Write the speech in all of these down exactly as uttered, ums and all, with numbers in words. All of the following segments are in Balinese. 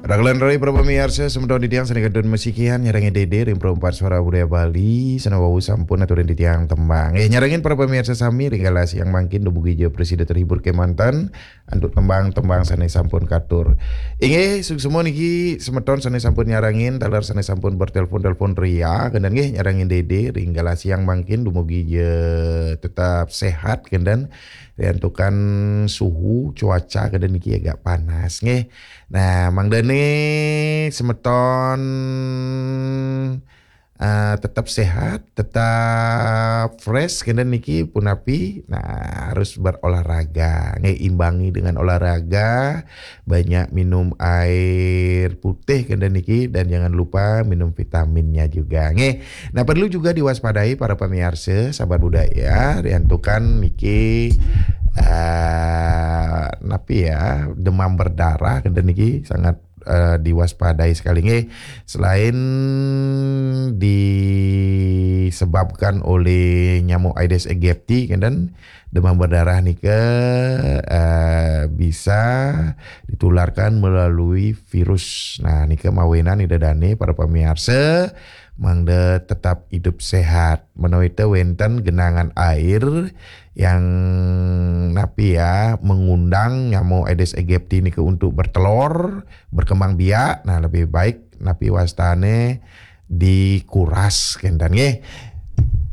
Rakelan rai para pamiarsa, semeton titiang sané kantun masikian nyarengin Dédé ring Pro empat Suara Budaya Bali, sané wau sampun aturin titiang tembang. Eh, nyarengin para pamiarsa sami ring galah siang mangkin dumugi ja prasida terhibur kémanten antuk tembang-tembang sané sampun katur. Inggih, suksma niki semeton sané sampun nyarengin, taler sané sampun bertelepon-telepon ria, kénten nggih nyarengin Dédé ring galah siang mangkin dumugi ja tetap sehat, kénten riantukan suhu cuaca kénten niki agak panas nggih. Nah, mangdané semeton eh, tetap sehat, tetap fresh, kénten niki punapi. Nah, harus berolahraga. Nggih, imbangi dengan olahraga, banyak minum air putih kénten niki, dan jangan lupa minum vitaminnya juga. Nggih. Nah, perlu juga diwaspadai para pamiarsa, sahabat budaya, riantukan niki eh napi ya, demam berdarah kénten niki sangat eh, diwaspadai sekali nggih. Selain disebabkan oleh nyamuk Aedes aegypti, kénten demam berdarah nika eh, bisa ditularkan melalui virus. Nah, nika mawinan Ida dané para pamiarsa mangda tetap hidup sehat. Menawi té wénten genangan air yang napi ya mengundang nyamuk Aedes aegypti nika untuk bertelur, berkembang biak, nah lebih baik napi wastané dikuras kénten nggih.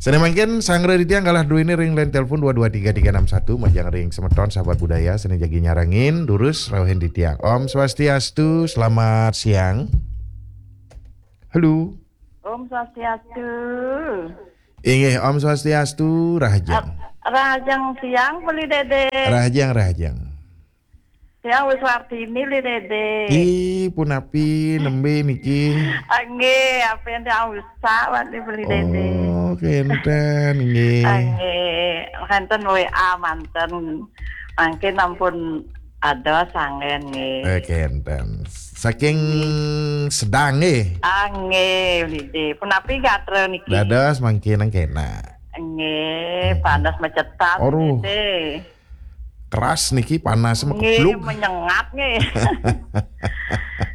Sané mangkin sanggra titiang galah duéné ring line telepon dua dua tiga tiga enam satu majeng ring semeton sahabat budaya sané jagi nyarengin durus rauhin titiang. Om Swastiastu, selamat siang. Halo. Om Swastiastu. Inggih, Om Swastiastu, rahajeng. Ap-, rahajeng siang, Beli Dédé. Rahajeng, rahajeng. Siang, Wis Wartini, Beli Dédé. Ih, punapi, nembé niki? Nggih, ampun tiang usak, Beli Dédé. Oh, kénten, nggih. Nggih, kénten W A manten. Mangkin ampun ada sanggén nggih. Eh, kénten. Saking Sedang nggih. Ah, nggih, Beli Dédé. Punapi gatra niki? Dados mangkin kénak. Nggih, hmm, panas macetat, aduh, Beli Dédé. Keras niki panas. Nggih, makeplug. Menyengat nggih.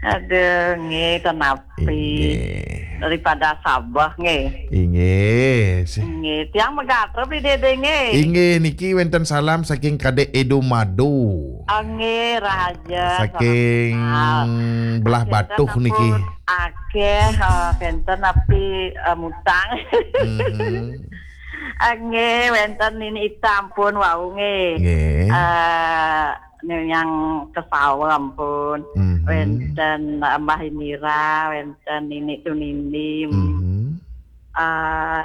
Aduh, nggih, ten napi. Inggih. Daripada Sabah nggih. Inggih. Nggih, tiang magatra Beli Dédé nggih. Inggih, niki wénten salam saking Kadék Edo Mado. Ah, nggih, rahaja. Saking salam kenal. Belah Batuh niki. Akéh, eh, kénten napi, eh, mutang. Mhm. Ah, nggih, wénten Nini Ita ampun wau nggih. Nggih. Eh, Nyang Kesawa ampun. Mhm. Wénten Mbah Indira, wénten Nini Tuninding. Mhm. Eh,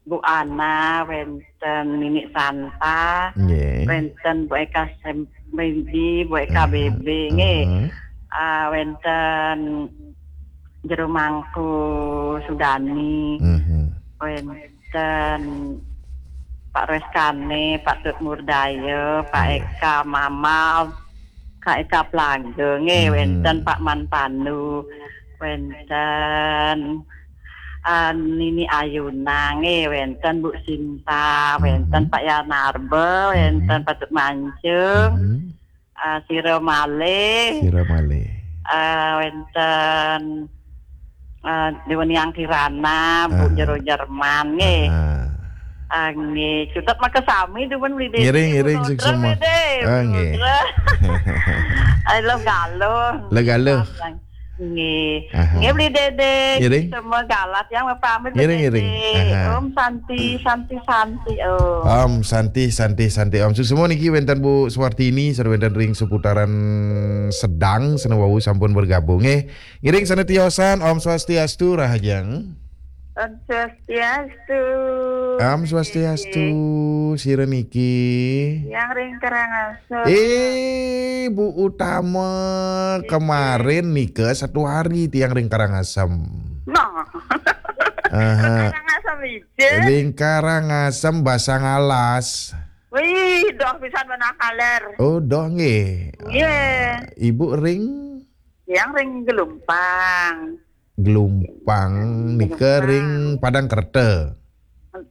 Bu Ana, wénten Nini Santa, nggih, wénten Bu Eka Sem-, Bedi, Bu Eka, aha, Bebe, nggih. Aha. Ah, wénten Jero Mangku Sudani, mhm, wénten Pak Reskane, Pak Tut Murdaya, Pak, iya, Eka Mamal, Kak Eka Plaga, nggih, mhm, wénten Pak Man Pandu, wénten, ah, Nini Ayuna, nggih, wénten Bu Sinta, wénten, mhm, Pak Yanarba, wénten, mhm, Patut Mancung, mhm, ah, Sira Malih, Sira Malih, ah, wénten, ah, Dewa Niang Kirana, Bu, aha, Jero Jerman, nggih. Aha. Ah, nggih, cutet makasami dumun Beli Dédé. Ngiring, ngiring, suksma. Beli Dédé. Ah, nggih. Ayo, lo Galuh. Lo Galuh. Nggih. Aha. Nggih, Beli Dédé. Ngiring. Semua galah tiang mapamit, Beli Dédé. Ngiring, ngiring. Aha. Om Santi, Santi, Santi, Om. Om Santi, Santi, Santi, Om. Suksma niki wénten Bu Suwartini, sareng wénten ring seputaran Sedang, sané wau sampun bergabung, nggih. Ngiring sané tiosan, Om Swastiastu, rahajeng. Om Swastiastu. Om Swastiastu, sira niki? Tiang ring Karangasem. Eh, Bu Utama, nggih, kemarin nika satu hari tiang ring Karangasem. Nah. Aha. Karangasem ija. Ring Karangasem Basang Alas. Wih, doh pisan menakaler. Oh, doh nggih. Nggih. Ah, Ibu ring? Tiang ring Gelumpang. Gelumpang nika ring Padang Kerta.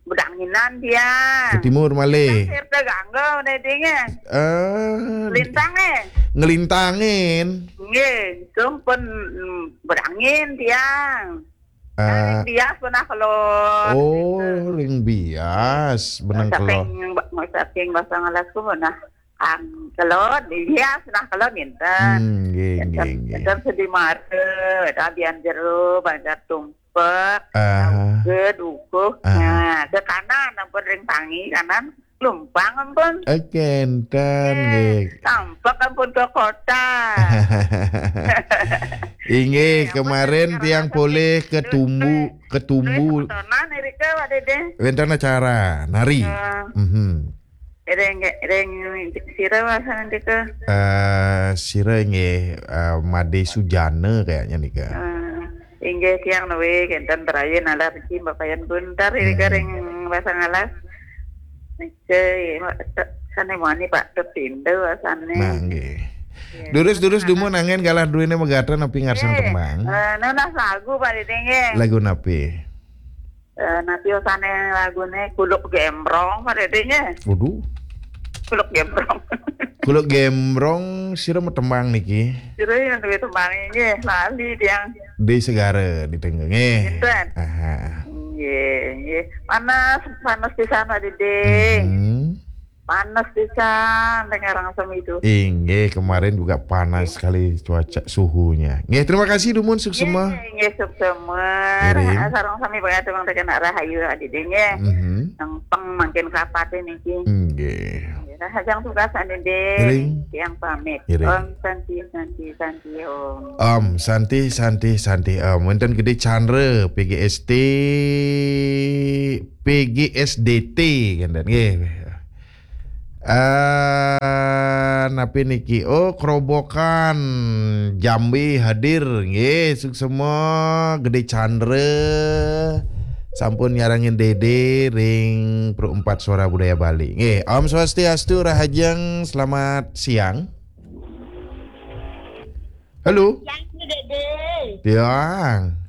Bedang Inan dia. Ke timur malih. Sir tegangga, Dédé, nggih. Eh, Lintang, eh. Ngelintangin. Nggih, itu pun, mm, berangin tiang. Eh. Ring bias pernah kelon. Oh, gitu. Ring bias, benang kelon. Saking, saking Basangalas ku pernah ang kelon, bias pernah kelon, ninten. Hmm, nggih, nggih, nggih. Ninten Sedi Mara, Tabian Jero, Banjar Tung. Pek, aha. Ke dukuh. Aha. Nah, ke kanan ampun ring tangi kanan, lumpang ampun. Oke, enten, eh, nggih. Tampek ampun ke kota. Inggih, eh, kemarin tiang polih ke Tumbu, ke Tumbu. Wénten acara nari. Eh. Mhm. Ring, ring sira wasan nika? Eh, sira nggih, eh, Made Sujana kayaknya nika. Eh, inggih tiang nuwi kenten teraye nalar niki mbakayan buntar nika ring Basangalas. Nika, sane mani Pak Tepindo wasane. Nah, nggih. Durus-durus dumun angin galah duwene megatra napi ngarsang tembang. Eh, nunas lagu Pak Dede nggih. Lagu napi? Eh, napi osane lagune Kuluk Gembrong, Pak Dede, nggih? Waduh. Kuluk Gembrong. Kuluk Gembrong, sira metembang niki? Sira yang duwe tembang nggih, lali tiang. Di Segara, di Tengge, nggih. Pinten? Aha. Nggih, nggih. Panas, panas pisan, Pak Dede. Mhm. Panas pisan, dengar langsung itu. Inggih, kemarin juga panas sekali cuaca suhunya. Nggih, terima kasih dumun suksema. Nggih, nggih, suksema. Iring. Sareng sami pangaturang tekena rahayu adide nggih. Mhm. Nang peng mangkin kapate niki. Nggih. Nggih, rahajeng tugas adide. Iring. Tiang pamit. Iring. Om Santi, Santi, Santi, Om. Om Santi, Santi, Santi, Om. Wonten Gede Chandra, P G S T, P G S D T, kenten nggih. Eh, napi niki? Oh, Kerobokan Jambi hadir. Nggih, suksema Gede Chandra sampun nyarengin Dede ring Pro Empat Suara Budaya Bali. Nggih, Om Swastiastu, rahajeng, selamat siang. Halo. Yang Dede. Tiang.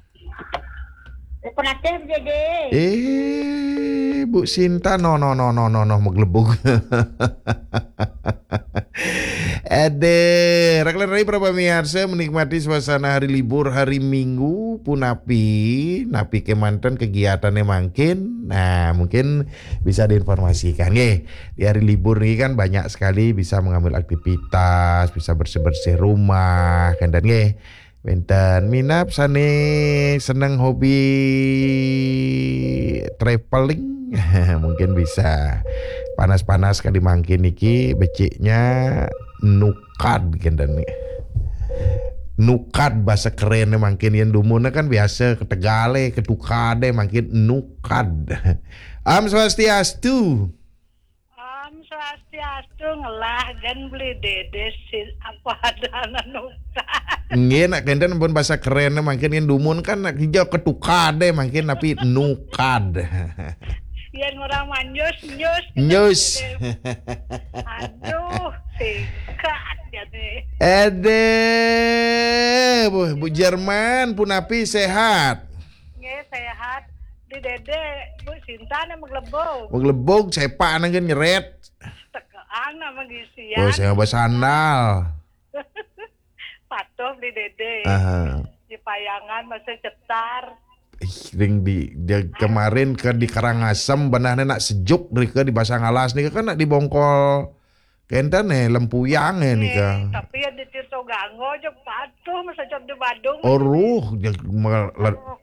Eh, penatih, Dede. Eh, Bu Sinta, no, no, no, no, no, no, maglebug. Ade, rak rai para pamiarsa menikmati suasana hari libur, hari Minggu, punapi, napi kemanten kegiatannya mangkin. Nah, mungkin bisa diinformasikan, nggih. Di hari libur ini kan banyak sekali bisa mengambil aktivitas, bisa bersih-bersih rumah, kan, dan nggih. Wénten minab sané seneng hobi traveling, mungkin bisa. Panas-panas kali mangkin niki beciknya nukad kenten. Nukad bahasa kerennya mangkin yang dumunnya kan biasa ketegale, ketukade mangkin nukad. Om Swastiastu. Om Swastiastu, ngelah gen beli dede si apa ada anu. Nggih, nak kenten pun bahasa kerennya mangkin yang dumun kan nak hijau ketukade mangkin tapi nukad. Yang orang manjus, nyus, gitu. Nyus. Aduh, singkat jadi. Ade, Bu, Bu Jerman, punapi sehat? Nggih, sehat. Di dede, Bu Sinta nih maglebog. Maglebog, sepak nang nyeret. Tekean nama gisian. Oh, saya bersandal. Patuh di dede. Aha. Di payangan masih cetar. Ih, ring di, dia kemarin ke di Karangasem, benar nak sejuk nih ke di Basangalas nih kan nak di Bongkol. Kenten eh, lempuyang eh nika. Eh, tapi ya di Tirto Ganggo aja patuh masa cap di Badung. Oruh,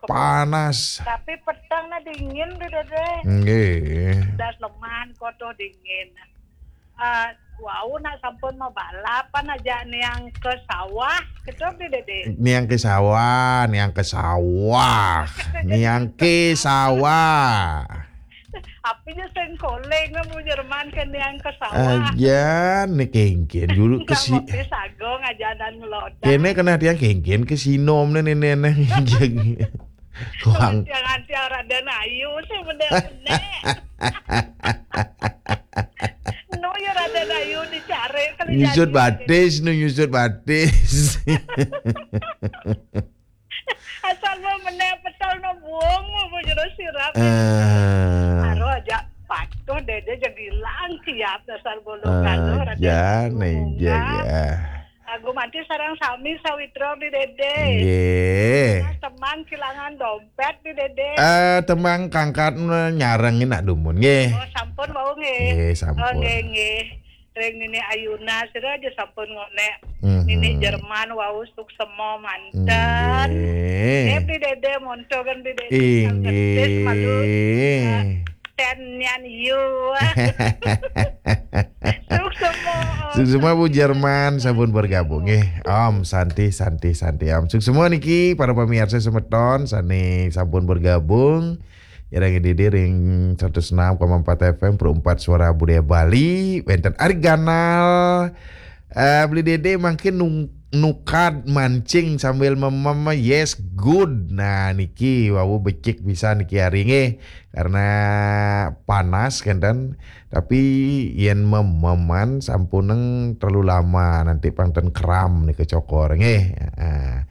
panas. Tapi petang na dingin tuh dede. Nggih. Das leman koto dingin. Eh, wau nak sampun mau balapan aja niang ke sawah, gitu di dede. Niang ke sawah, niang ke sawah, niang ke sawah. Apinya sengkoleng kamu Jerman ke niang ke sawah. Aja nih kengken dulu ke si. Sago ngajanan ngelodak. Kene kena tiang kengken ke sinom nih nenek nih. Wang. Tiang anti Raden Ayu sih bener-bener. No ya Raden Ayu dicari. Nyusut batis, no nyusut batis. Asal mau meneh petel no buang mau jero sirap. Eh. Aro aja Tuh Dede jadi hilang siap dasar bolongan. Ah, loh, Raden. Jan, Bunga. Iya, iya. Agung Manti sareng sami sawitra Beli Dede. Nggih. Nah, temang kilangan dompet Beli Dede. Eh, temang kangkat nyarengin nak dumun nggih. Oh, sampun wau nggih. Nggih, sampun. Oh, nggih, nggih. Ring Nini Ayuna sira aja sampun ngonek. Mhm. Nini Jerman wau suksema manten. Nggih. Nggih, Beli Dede monto kan Beli Dede. Inggih. Malu. Eh, Ten Nyan Yu. Suksema. Suksema Bu Jerman sampun bergabung nggih. Om Santi, Santi, Santi Om. Suksema niki para pemirsa semeton sane sampun bergabung. Nyarengin Dede ring seratus enam koma empat F M Pro empat Suara Budaya Bali, wenten Ari Ganal. Eh, Beli Dede mangkin nung- nukad mancing sambil memem, yes, good. Nah, niki wau becik pisan niki ari nggih. Karena panas kenten, tapi yen mememan sampuneng terlalu lama nanti pang ten kram nika cokor nggih. Heeh.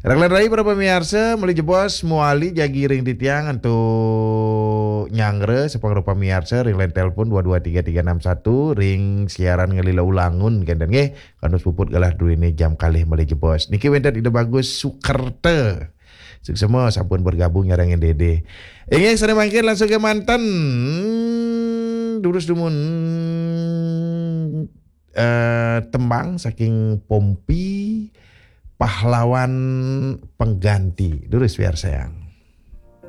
Raglan rai para pemirsa, meli jebos muali jagi ring titiang antuk nyanggra sepengrupa miarsa ring line telepon dua dua tiga tiga enam satu ring siaran ngelila ulangun kenten nggih. Kantos puput galah druene jam kalih meli jebos. Niki wenten Ida Bagus Sukerta. Suksema sampun bergabung nyarengin Dede. Inggih, sane mangkin langsung ke manten. Durus dumun eh, tembang saking Pompi, Pahlawan Pengganti. Durus biar sayang.